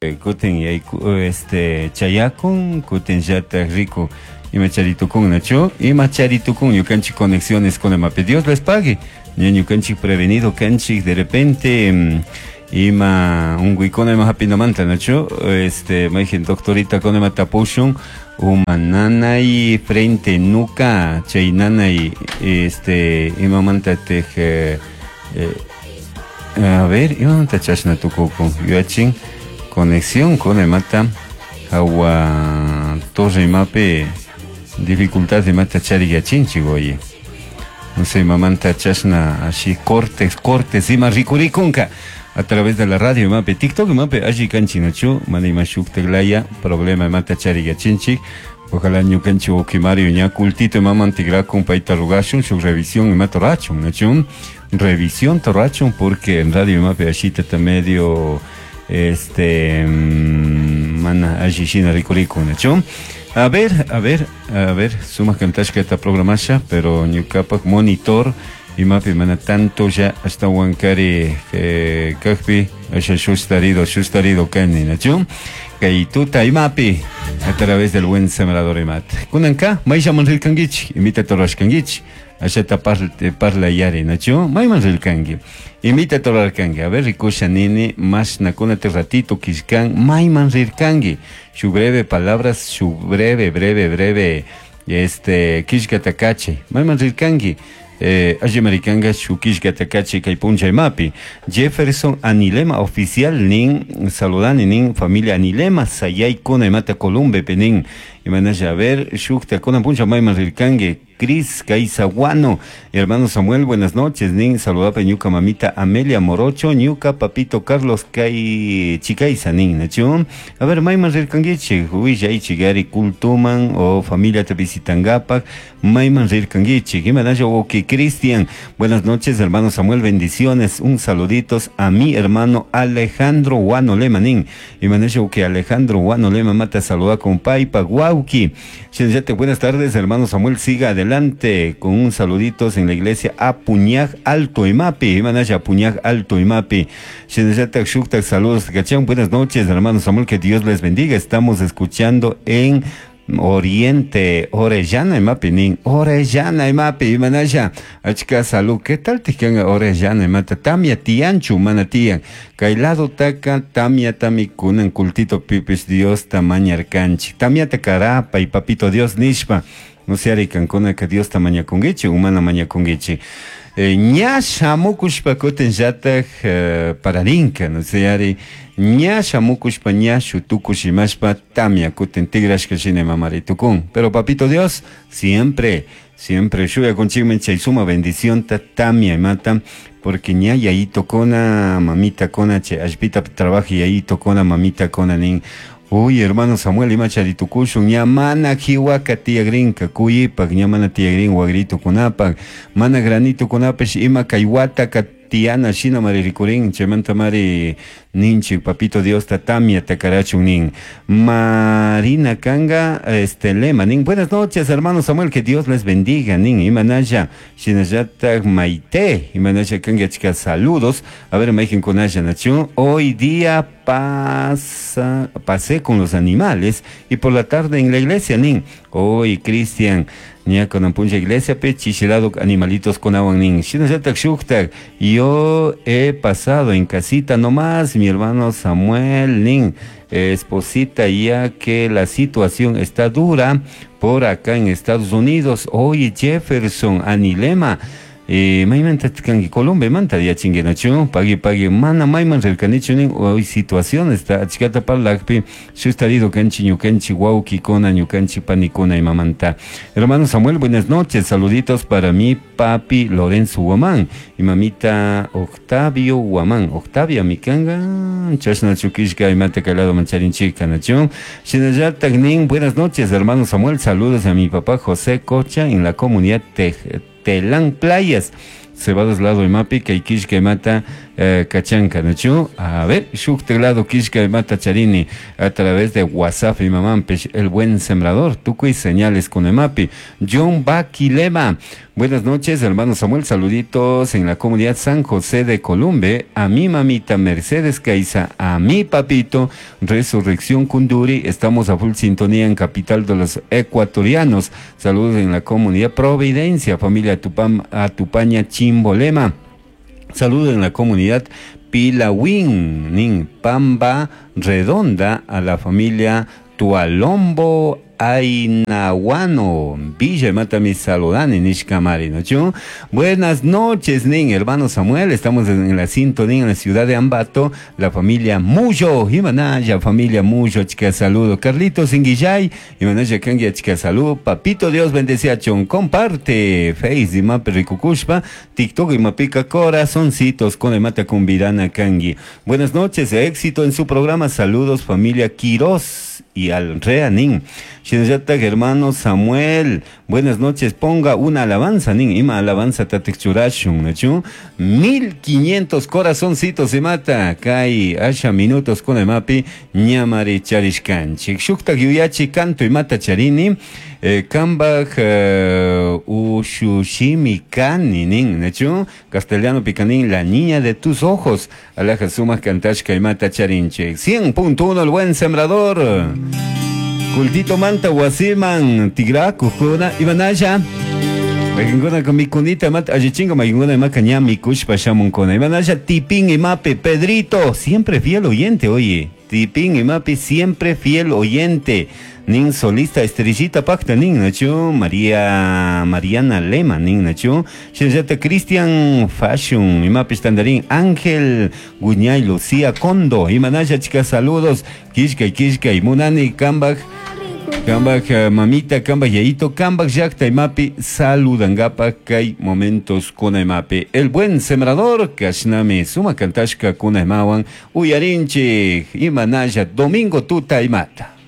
Kutin yayku este chayakun, kutin llatak riku ima charitukun, nachu? Ima charitukun ñukanchik conexiones con imapi. Dios les pague. Ña ñukanchik prevenido kanchik de repente ima unguykuna ima hapinamanta, nachu? Este mayjin doctorita con ima tapushun uma nanay frente nuca chay nanay este imamanta tej a ver imamanta chashna tukukun yuyachin conexión con imata hawa torre imapi dificultad imata chariyachinchik oye no sé imamanta chashna así cortes cortes ima rikurikunka a través de la radio imapi TikTok imapi alli kanchik nachu mana ima shuktaklaya problema imata chariyachinchik. Ojalá ñukanchik wawki Mario ña kultito imaman tikrakun payta rugashun shuk revisión imata rurachun nachu revisión rurachun porque en radio imapi ashitata medio este mana alli shina rikurikun nachu. A ver, a ver, a ver, sumak kantashkata programasha, pero ñukapak monitor imapi mana tanto ya ashtawankari kakpi asha shustarido, shustarido kani nachu. Kay tuta imapi a través del buen sembrador imat. Kunanka mayllaman rirkankichik, imita rurashkankichik, ashata parla yari nachu, mayman rirkanki. Imita rurarkanki, a ver rikusha nini mashna kunate ratito kishkan mayman rirkanki. Shu breve palabras, shu breve, breve, breve este kishkata kachay. Mayman rirkanki. Alli marikanga shukishkata kachay kay puncha imapi. Jefferson Anilema oficial nin saludani nin familia Anilema sayay kuna imata Columbe nin imanasha a ver shukta kuna puncha mayman rirkanki. Cris Caizaguano, hermano Samuel, buenas noches, nin saludapa ñuka mamita Amelia Morocho, ñuka papito Carlos Kai Chicaiza, nin, nachu. A ver, mayman rirkankichik, willaychik, gari kultuman o familia te visitangapak, mayman rirkankichik, imanasha wawki Cristian, buenas noches, hermano Samuel, bendiciones, un saluditos a mi hermano Alejandro Guano Lema, nin, imanasha wawki Alejandro Guano Lema, mata saluda con paypa, wawki. Shinllate, buenas tardes, hermano Samuel, siga adelante con un saluditos en la iglesia Apuñaj Alto Imapi, Imanaya Apuñaj Alto Imapi. Shinllate, shuktak, saludos, cachán, buenas noches, hermano Samuel, que Dios les bendiga. Estamos escuchando en Oriente, Orellana Imapi, nin, Orellana Imapi, Imanaya, achka salud, ¿qué tal te quedan Orellana Imata? Tamia tianchu, mana tian, kailado taka, tamia tami kunan kultito pipis Dios tamañarkanchi, tamia takarapa y papito Dios nishpa. No se aricancona que Dios tamañakungichi, humana mañakungichi. Ña shamukushpa kutin llatak pararinka, no se ari, ña shamukushpa ña shutukush imashpa tamia kutin tigrashka shina mamaritukun. Pero papito Dios, siempre, siempre shuya conchigmen chay suma bendición ta tamia imata, porque ña yayito kona mamita kona che ashpita trabaja yayito kona mamita kona nin. Uy, hermano Samuel, ima charitukushun, ña mana jiwaka tiyagrinka, kuyipak, ña mana tiyagrin wagrito kunapak, mana granito kunapash, ima kaywata tiana shina mari rikurin, chaymanta mari ninchik, papito Dios ta tamia takarachun nin. Marina Kanga, este lema nin, buenas noches, hermano Samuel, que Dios les bendiga, nin, imanaya, shinallata maite, imanaya kanga chica, saludos. A ver, maijen con aya nachu, hoy día pasé con los animales y por la tarde en la iglesia, nin. Hoy, Cristian, ña con ampuncha iglesia, pe chichilado animalitos con agua, nin. Shinallata shuktak, yo he pasado en casita nomás, mi hermano Samuel, nin, esposita, ya que la situación está dura por acá en Estados Unidos. Oye, Jefferson, Anilema, mayman tatkanki Colombia manta yachinguinachu, pagui pagui mana mayman rirkanichu nin, hoy situación está achkata parlakpi, shustarido kanchi ñukanchi wawki kona ñukanchi panikuna imamanta. Hermano Samuel, buenas noches, saluditos para mi papi Lorenzo Guamán y mamita Octavio Guamán, Octavia mikanga, chashna chukishka imata kalado mancharinchika nachu. Shinallatak nin, buenas noches, hermano Samuel, saludos a mi papá José Cocha en la comunidad Telán Playas. Cebados lado imapi, kay kishka imata, Kachanka, nachu? A ver, shuk teclado kishka imata charini a través de WhatsApp y mamampish el buen sembrador, tukuy señales con emapi. John Baquilema. Buenas noches, hermano Samuel. Saluditos en la comunidad San José de Columbe. A mi mamita Mercedes Caiza, a mi papito Resurrección Kunduri. Estamos a full sintonía en capital de los ecuatorianos. Saludos en la comunidad Providencia, familia Tupam, Atupaña Chimbolema. Saludos en la comunidad Pilawin, Nin Pamba Redonda, a la familia Tualombo Ainahuano, Villa Mata mi saludani nishkamari, ¿no? Buenas noches, nin, hermano Samuel, estamos en la sintonía en la ciudad de Ambato, la familia Muyo, Imanaya, familia Muyo, chica saludo, Carlitos Inguillay, Imanaya Kangia, chica saludo, Papito Dios bendice a Chon, comparte, Face, Imape Ricucushpa, TikTok, Imapica, corazoncitos, con el mata cumbirana Kangi. Buenas noches, éxito en su programa, saludos, familia Quirós y al Reanin. Shinallatak hermano Samuel, buenas noches, ponga una alabanza, nin, ima alabanza tatikchurashun, nachu? 1500 corazoncitos se mata, kai asha minutos con el mapi, ñamari charishkanchik. Shuktak yuyachi canto y mata charini, kambaj ushushimi kani, nin, nachu? Castellano picanín, la niña de tus ojos, alaja sumas cantashka y mata charinchik. 100.1 el buen sembrador. Kultito manta wasiman tigraku kuna imanalla Makinkuna mikunita mata allichinga makinkuna imaka ña mikushpa shamunkuna imanalla tipín imape Pedrito siempre fiel oyente, oye, tipín imape siempre fiel oyente, nin solista estrellita pacta nin nachu María Mariana Lema nin nachu shinallata Cristian Fashion imape tandarín Ángel Guñay Lucía Condo imanalla chicas, saludos, kishkay kishkay munani kambaj kambaj mamita kambaj yayito kambaj llakta imapi saludangapa kay momentos kuna imapi el buen sembrador kashnami suma kantashka kuna imawan uyarinchik imanalla domingo tuta imata.